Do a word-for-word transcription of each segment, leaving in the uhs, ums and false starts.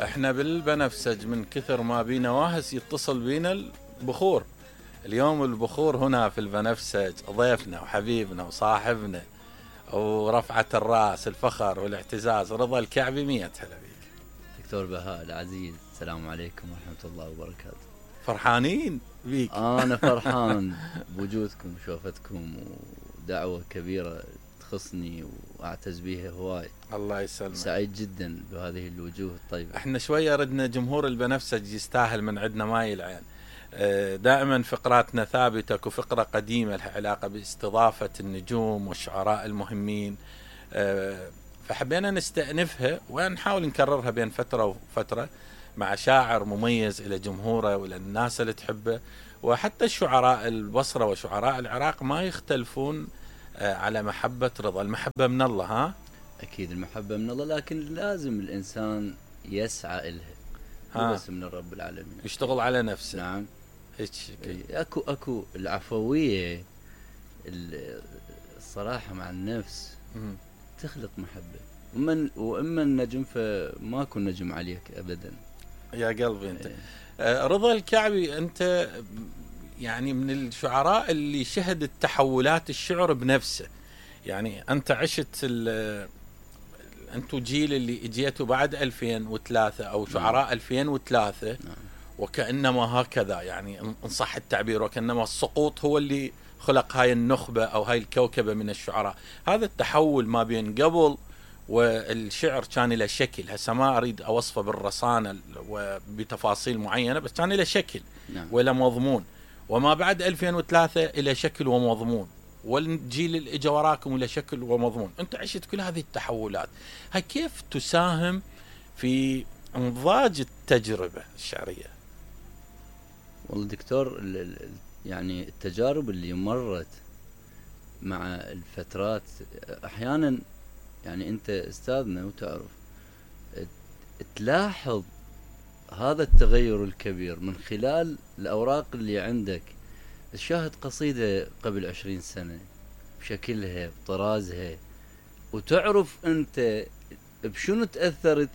احنا بالبنفسج من كثر ما بينا واهس يتصل بينا البخور. اليوم البخور هنا في البنفسج ضيفنا وحبيبنا وصاحبنا ورفعة الراس الفخر والاعتزاز رضا الكعبي. مية هلا بيك دكتور بهاء العزيز، السلام عليكم ورحمة الله وبركاته. فرحانين بيك. أنا فرحان بوجودكم وشوفتكم، ودعوة كبيرة تخصني وأعتز بيها هواي. الله يسلمك. سعيد جدا بهذه الوجوه الطيبة. احنا شوية ردنا جمهور البنفسج يستاهل من عندنا ماي العين. دائما فقراتنا ثابتة، وفقرة قديمة لها علاقة باستضافة النجوم والشعراء المهمين، فحبينا نستأنفها ونحاول نكررها بين فترة وفترة مع شاعر مميز إلى جمهوره وإلى الناس اللي تحبه. وحتى الشعراء البصرة وشعراء العراق ما يختلفون على محبة رضا. المحبة من الله. ها أكيد المحبة من الله، لكن لازم الإنسان يسعى إلها بس من الرب العالمين، يشتغل على نفسه. نعم هيك اكو اكو العفوية، الصراحة مع النفس م- تخلق محبة. ومن واما النجم فماكو نجم عليك ابدا يا قلبي انت. ايه. رضا الكعبي انت يعني من الشعراء اللي شهد التحولات الشعر بنفسه. يعني انت عشت انتو جيل اللي اجيتوا بعد ألفين وثلاثة او شعراء نعم. ألفين وثلاثة نعم. وكأنما هكذا يعني ان صح التعبير، وكأنما السقوط هو اللي خلق هاي النخبة او هاي الكوكبة من الشعراء. هذا التحول ما بين قبل والشعر كان له شكل، هسه ما اريد اوصفه بالرصانة وبتفاصيل معينة، بس كان له شكل نعم. وله مضمون. وما بعد ألفين وثلاثة الى شكل ومضمون، والجيل اللي اجى وراكم الى شكل ومضمون. انت عشت كل هذه التحولات، هاي كيف تساهم في انضاج التجربة الشعرية؟ والله دكتور، يعني التجارب اللي مرت مع الفترات احيانا، يعني انت استاذنا وتعرف تلاحظ هذا التغير الكبير من خلال الاوراق اللي عندك. تشاهد قصيدة قبل عشرين سنة بشكلها بطرازها، وتعرف انت بشنو تأثرت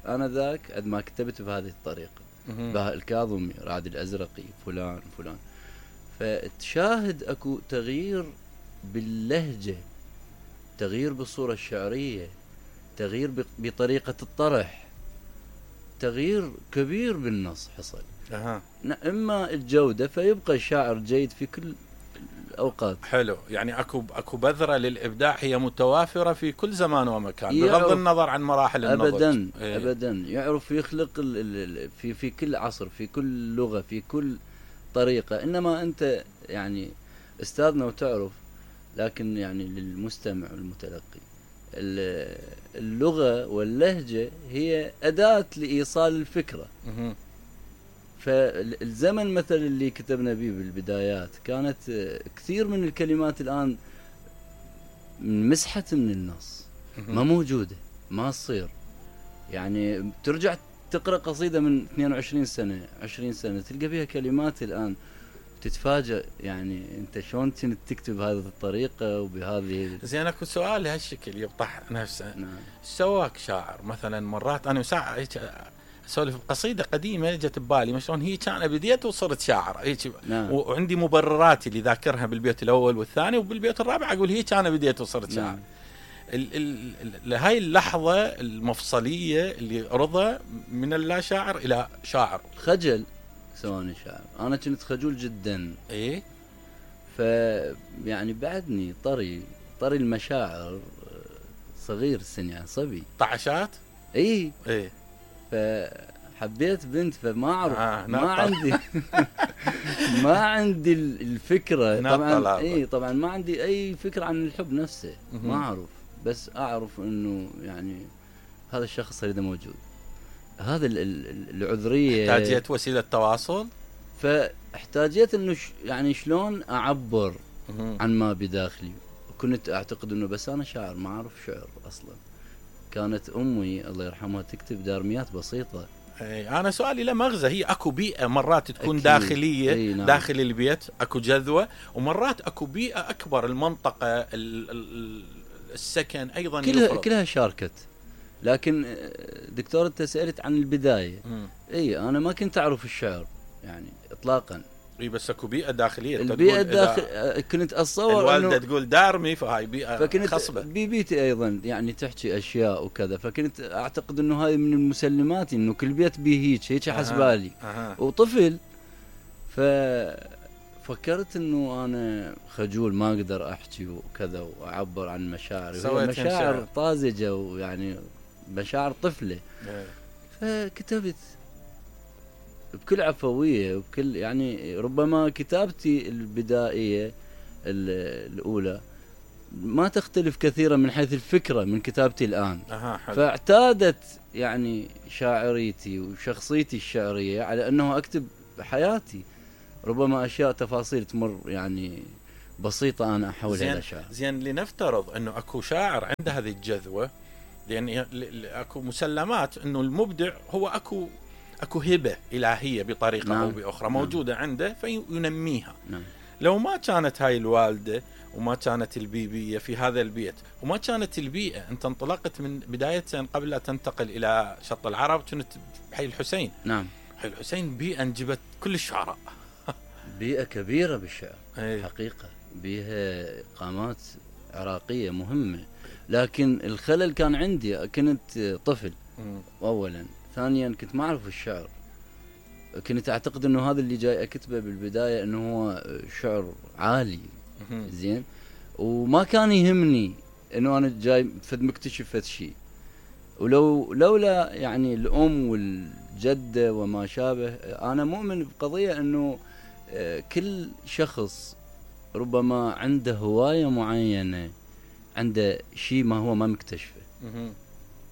انا ذاك عندما ما كتبت بهذه الطريقة. بهاء الكاظمي، رعد الازرقي، فلان فلان. فتشاهد اكو تغيير باللهجة، تغيير بالصورة الشعرية، تغيير بطريقة الطرح، تغيير كبير بالنص حصل. أه. اما الجودة فيبقى الشاعر جيد في كل الاوقات. حلو، يعني اكو اكو بذرة للابداع هي متوافرة في كل زمان ومكان بغض النظر عن مراحل النضج. ابدا ايه. ابدا يعرف يخلق في في كل عصر، في كل لغة، في كل طريقة. انما انت يعني استاذنا وتعرف، لكن يعني للمستمع والمتلقي اللغة واللهجة هي أداة لإيصال الفكرة. م- فالزمن مثل اللي كتبنا به بالبدايات كانت كثير من الكلمات الآن مسحت من النص، ما موجودة، ما تصير. يعني ترجع تقرأ قصيدة من اثنين وعشرين سنة عشرين سنة تلقى بها كلمات الآن تتفاجأ، يعني انت شلون كنت تكتب بهذه الطريقة وبهذه. زين اكو سؤال لهالشكل يبطح نفسه. نعم. سواك شاعر مثلا مرات انا ساعة هيك اسولف بقصيدة قديمة جت ببالي، ما شلون هي كان بديت وصرت شاعر هيك. نعم. وعندي مبرراتي اللي ذاكرها بالبيت الاول والثاني، وبالبيت الرابع اقول هي كان بديت وصرت شاعر. نعم. ال ال هاي اللحظة المفصلية اللي رضا من اللا شاعر الى شاعر. خجل سواني شاعر، انا كنت خجول جدا. ايه. ف يعني بعدني طري طري المشاعر، صغير السن يعني صبي طعشات. ايه ايه. فحبيت بنت، فما اعرف آه ما عندي ما عندي الفكرة طبعا. ايه طبعا ما عندي اي فكرة عن الحب نفسه، ما اعرف، بس اعرف انه يعني هذا الشخص اريده موجود. هذا العذرية، احتاجيت وسيلة تواصل، فاحتاجيت انه ش... يعني شلون اعبر عن ما بداخلي. كنت اعتقد انه بس انا شاعر، ما اعرف شعر اصلا. كانت امي الله يرحمها تكتب دارميات بسيطة. اي انا سؤالي له مغزى. هي اكو بيئة مرات تكون أكيد. داخلية. أي نعم. داخل البيت اكو جذوة، ومرات اكو بيئة اكبر، المنطقة ال... ال... السكن ايضا كلها يفرض. كلها شاركت، لكن دكتور انت سألت عن البداية. اي انا ما كنت اعرف الشعر يعني اطلاقا. اي بس اكو بيئة داخلية. البيئة الداخل كنت اتصور الوالدة تقول دارمي فهاي بيئة فكنت خصبة. ببيتي ايضا يعني تحكي اشياء وكذا، فكنت اعتقد انه هاي من المسلمات انه كل بيت بيه هيك هيك حسبالي. أه. وطفل ففكرت انه انا خجول ما اقدر احكي وكذا واعبر عن مشاعري، مشاعر طازجة ويعني مشاعر طفلة. أه. فكتبت بكل عفوية وبكل يعني ربما كتابتي البدائية الأولى ما تختلف كثيرا من حيث الفكرة من كتابتي الآن. أه فاعتادت يعني شاعريتي وشخصيتي الشعرية على أنه أكتب حياتي، ربما أشياء تفاصيل تمر يعني بسيطة أنا أحولها إلى شعر. زين لنفترض أنه أكو شاعر عنده هذه الجذوة، لأن أكو مسلمات أنه المبدع هو أكو اكو هبه الهيه بطريقه نعم. او باخرى موجوده نعم. عنده فينميها. نعم. لو ما كانت هاي الوالده وما كانت البيبيه في هذا البيت وما كانت البيئه، انت انطلقت من بدايه قبل لا تنتقل الى شط العرب كنت بحي الحسين. نعم. حي الحسين بيئه انجبت كل الشعراء. بيئه كبيره بالشعر. أي. حقيقه بيها قامات عراقيه مهمه، لكن الخلل كان عندي كنت طفل. م. اولا ثانيا كنت ما اعرف الشعر، كنت اعتقد انه هذا اللي جاي اكتبه بالبدايه انه هو شعر عالي زين، وما كان يهمني انه انا جاي فد مكتشف فد شيء. ولو لولا يعني الام والجده وما شابه، انا مؤمن بقضيه انه كل شخص ربما عنده هوايه معينه، عنده شيء ما هو ما مكتشفه.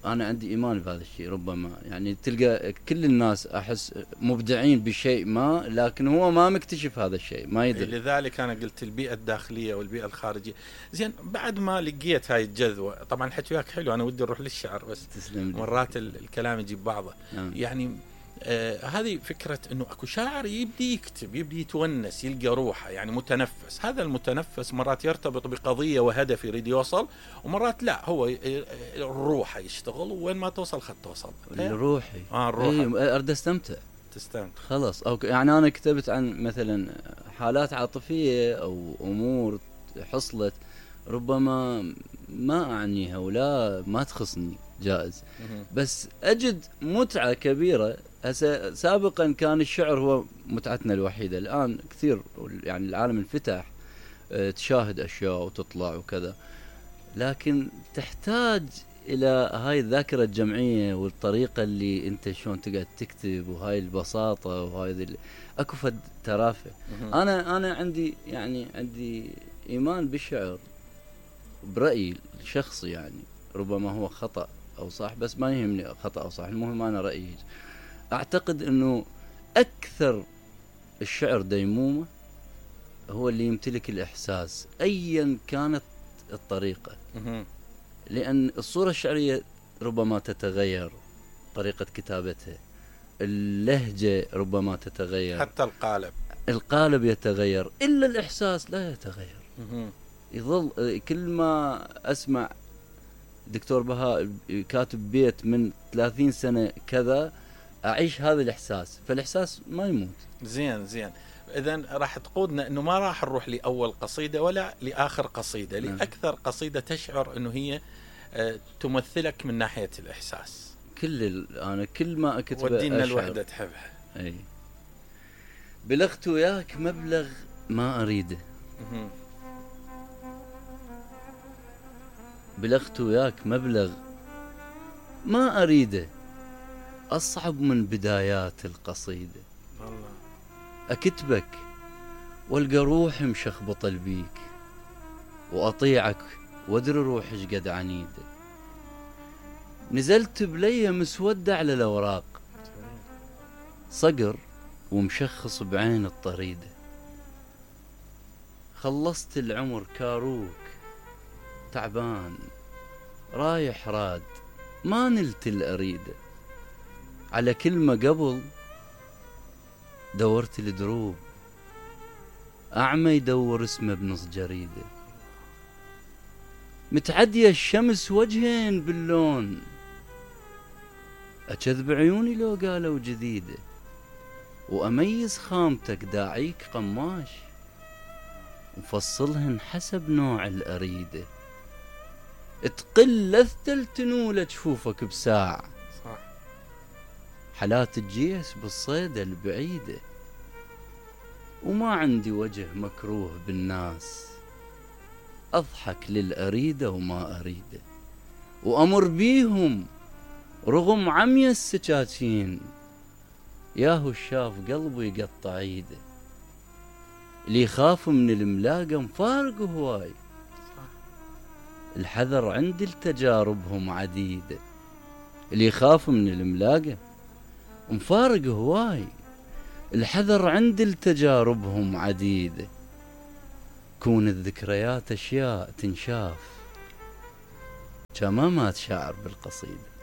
أنا عندي إيمان بهذا الشيء. ربما يعني تلقى كل الناس أحس مبدعين بشيء ما، لكن هو ما مكتشف هذا الشيء، ما يدري. لذلك أنا قلت البيئة الداخلية والبيئة الخارجية. زين بعد ما لقيت هاي الجذوة، طبعا الحكي وياك حلو، أنا ودي أروح للشعر بس تسلم لي. مرات الكلام يجيب بعضه. نعم. يعني آه هذه فكرة أنه أكو شاعر يبدي يكتب، يبدي يتونس، يلقى روحه، يعني متنفس. هذا المتنفس مرات يرتبط بقضية وهدف يريد يوصل، ومرات لا، هو الروح يشتغل وين ما توصل خد توصل. الروحي آه الروح. أيه أريد أستمتع. تستمتع. خلاص أو يعني أنا كتبت عن مثلا حالات عاطفية أو أمور حصلت ربما ما أعنيها ولا ما تخصني، جائز. بس أجد متعة كبيرة. هسه سابقا كان الشعر هو متعتنا الوحيدة، الآن كثير يعني العالم انفتح، اه تشاهد أشياء وتطلع وكذا، لكن تحتاج إلى هاي الذاكرة الجمعية والطريقة اللي أنت شلون تقعد تكتب، وهاي البساطة وهاي ذي أكو فد ترافة. أنا أنا عندي يعني عندي إيمان بالشعر برأيي الشخصي، يعني ربما هو خطأ أو صح، بس ما يهمني خطأ أو صح، المهم أنا رأيي. أعتقد أنه أكثر الشعر ديمومة هو اللي يمتلك الإحساس أيا كانت الطريقة، لأن الصورة الشعرية ربما تتغير، طريقة كتابتها، اللهجة ربما تتغير، حتى القالب القالب يتغير، إلا الإحساس لا يتغير. يظل كل ما أسمع دكتور بهاء كاتب بيت من ثلاثين سنة كذا، أعيش هذا الإحساس، فالإحساس ما يموت. زين زين إذن راح تقودنا إنه ما راح نروح لأول قصيدة ولا لآخر قصيدة، نعم. لأكثر قصيدة تشعر إنه هي تمثلك من ناحية الإحساس. كل ال... أنا كل ما أكتب ودينا الوحدة تحبها. أي بلغت وياك مبلغ ما أريده، بلغت وياك مبلغ ما أريده، أصعب من بدايات القصيدة. الله. أكتبك والقى روحي مشخبطة بيك، وأطيعك وادري روحي قد عنيدة، نزلت بلية مسودة على الأوراق، صقر ومشخص بعين الطريدة، خلصت العمر كاروك تعبان رايح راد ما نلت الأريدة، على كلمة قبل دورت الدروب، أعمى يدور اسمه بنص جريدة، متعدية الشمس وجهين باللون، أكذب عيوني لو قالوا جديدة، وأميز خامتك داعيك قماش، وفصلهن حسب نوع الأريدة، تقل لذة التنولة جفوفك بساعة، صح. حالات الجيش بالصيدة البعيدة، وما عندي وجه مكروه بالناس، أضحك للأريدة وما أريده، وأمر بيهم رغم عمي السكاكين، ياهو الشاف قلبي يقطع ايده، اللي يخاف من الملاقة مفارق هواي، الحذر عندي لتجاربهم عديدة، اللي يخاف من الملاقة مفارق هواي، الحذر عندي لتجاربهم عديدة، كون الذكريات أشياء تنشاف، كما مات شاعر بالقصيدة.